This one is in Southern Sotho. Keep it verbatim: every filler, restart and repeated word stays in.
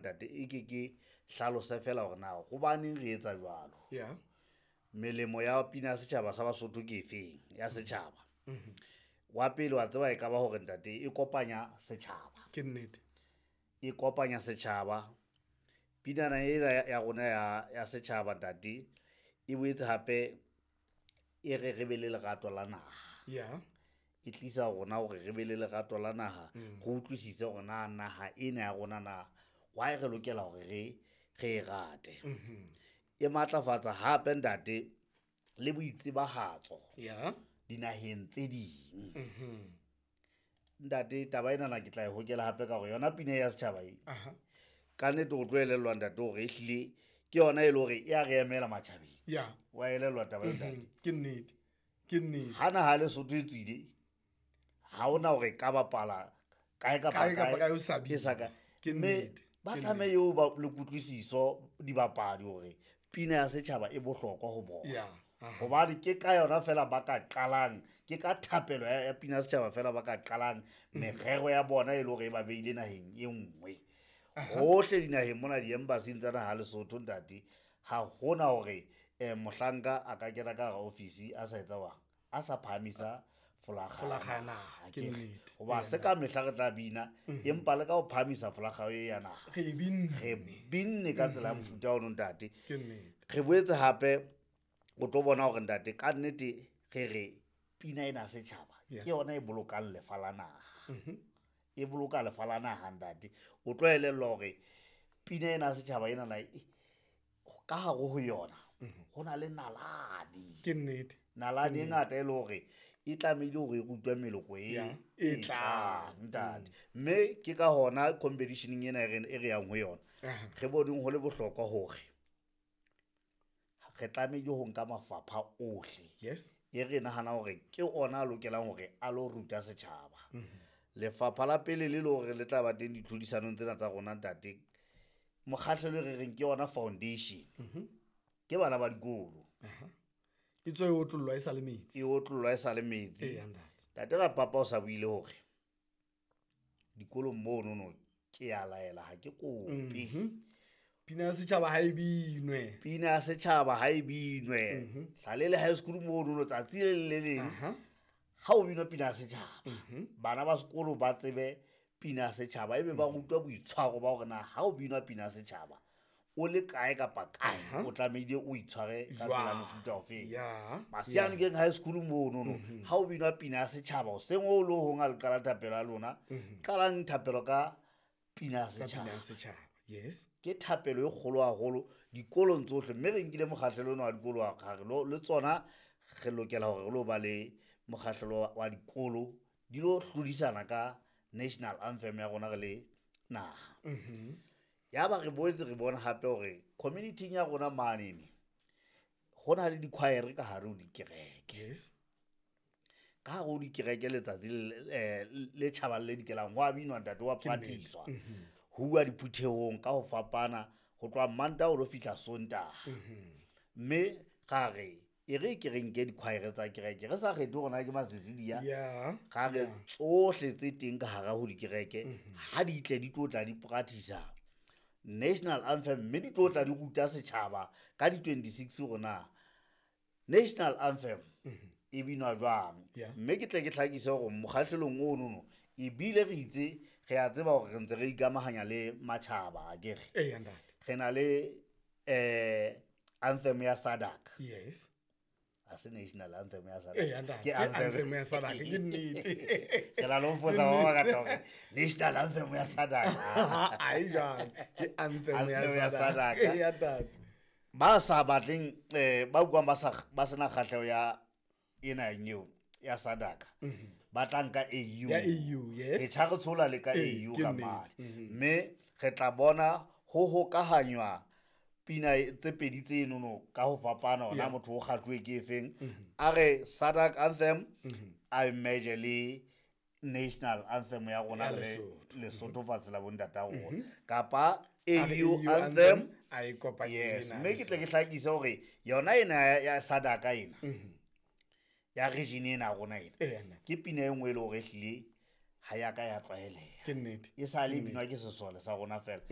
Ntate, e ke ke hlalose fela hore na hobaneng re etsa jwalo. Yeah. Melemo ya pina ya setjhaba sa Basotho ke efeng ya setjhaba? Wa pele wa tseba e ka ba hore ntate e kopanya setjhaba. Ke nnete. E kopanya setjhaba. Pinana ena ya ya rona ya ya setjhaba ntate e boetse hape e re re be le lerato la naha. Yeah. E tlisa rona hore re be le lerato la naha, re utlwisise hore na naha ena ya rona na why re lokela hore re re e rate. E matlafatsa hape ntate le boitsebahatso Yeah. dinaheng tse ding. Ntate, taba enana ke tla e hokela hape ka hore yona pina ya setjhaba e Aha. ka nnete o tlo elellwa ntate hore ehlile ke yona e le hore e a re emela matjhabeng. Yeah. Wa elellwa taba eo ntate? Ke nnete. Ke nnete. Ha naha ya Lesotho e tswile, ha hona hore e ka bapala kae kapa Kae kapa kae o sa e sa ka. Ke Mme nnete. ba Ke tlameha eo ba le kutlwisiso dibapadi hore pina ya setjhaba e bohlokwa ho bona. Yeah. Aha. Hobane ke ka yona fela ba ka qalang, ke ka thapelo ya ya pina ya setjhaba fela ba ka qalang merero ya bona e le hore e ba beile naheng e nngwe. Hohle dinaheng mona di-embassy-ing tsa naha ya Lesotho ntate, ha hona hore eh mohlanka a ka kena ka hara office a sa etsa wang, a sa phahamisa folakga Folakga ya ya naha, naha, ke ke re. nnete. Hoba se ka mehla re tla bina, empa le ka ho phahamisa folakga e ya naha. Re e binne. Re binne ka tsela ya mofuta ono ntate. Ke nnete. Re boetse hape o tlo bona hore ntate ka nnete re re pina ena ya setjhaba Yeah. ke yona e bolokang lefa la naha. E boloka lefa la naha ntate. O tlo elellwa hore pina ena ya setjhaba enana e ka hare ho yona ho na le nalane. Ke nnete. Nalane e ngata e le hore e tlamehile hore e rutwe meloko e Yeah, e e tlang. tlang ntate. Mme ke ka hona competition-eng ena e re e re yang ho yona. Aha. Re boneng ho le bohlokwa hore re tlamehile ho nka mafapha ohle. Yes. E re nahana hore ke ona a lokelang hore a lo ruta setjhaba. Lefapha la pele le le hore le tla ba teng ditlhodisanong tsena tsa rona ntate, mokgahlelo e re reng ke yona foundation. Ke bana ba dikolo. E tswe e otlollwa e sa le metsi. E otlollwa e sa le metsi. Eya, ntate. Ntate Rapapa o sa buile hore dikolong monono ke a laela ha ke kope. Pina ya setjhaba ha e binwe. Pina ya setjhaba ha e binwe. Hlalele high school monono tsatsi le le leng. Aha. Ha o binwa pina ya setjhaba, bana ba sekolo ba tsebe pina ya setjhaba ebe ba rutwa boitshwaro ba hore na ha o binwa pina ya setjhaba o le kae kapa kae o tlamehile o itshware ka tsela Jwang? mofuta ofeng. Yeah. Masianokeng High School monono ha o binwa pina ya setjhaba hoseng o lo hong ha le qala thapelo ya lona, qalang thapelo ka pina ya Ka pina setjhaba. ya setjhaba. Yes. Ke thapelo e kgolo haholo dikolong tsohle, mme re nkile mokgahlelo ona wa dikolo wa re lo le tsona re lokela hore re lo ba le mokgahlelo wa dikolo di lo hlodisana ka national anthem ya rona re le naha. Ya ba re boetse re bona hape hore community-ing ya rona mane ho na le di-choir ka hare ho dikereke. Yes. Ka hare ho dikereke letsatsi le, eh, le tjhabang le dikelang ho a binwa ntate wa Ke nnete. practice-wa. Ho uwa diphuthehong ka ho fapana ho tloha Mantaha ho lo fihla Sontaha. Mme ra re e re ke re nke di-choir tsa kereke re sa kgethe hore na ke Masesidia. Yeah. Ra re tsohle tse teng ka hara ho dikereke ha di tle di tlo tla di practice national anthem mme di tlo tla di ruta setjhaba ka di twenty-six hore na national anthem e binwa jwang. Yeah. Mme ke tle ke hlakise hore mokgahlelong ono no ebile re itse re a tseba hore re ntse re ikamahanya le matjhaba akere. Eya, ntate. Re na le eh anthem ya SADC. Yes. Ha se national anthem ya SADC. Eya, ntate. Ke Ke anthem. anthem ya SADC, ke nnete. Ke la lo fosa ba bangata hore national anthem ya SADC. Ai jwang, ke anthem ya Anthem ya SADC. SADC. Eya, ntate. Ba sa batleng eh ba utlwang ba sa ba sena kgahleho ya ena eo ya SADC. Ba tla nka A U. Ya A U, yes. Re tjha re tshola le ka Ee, A U ke ka nnete. mane. Mme re tla bona ho hokahanywa pina tse pedi tse nono ka ho fapana hore na Yeah. motho o kgahluwe ke efeng. A re SADC anthem a merge le national anthem ya rona Ya le Lesotho. Lesotho fatshe la bontata rona. Kapa A re A U A U anthem anthem, a e kopanye le Yes, ena mme ke tle ke hlakise hore yona ena ya, ya SADC ena ya region ena ya rona ena Eya, nna. ke pina e nngwe e le hore ehlile ha ya ka ya tlwaeleha. Ke nnete. E sa le binwa ke sesole sa rona fela.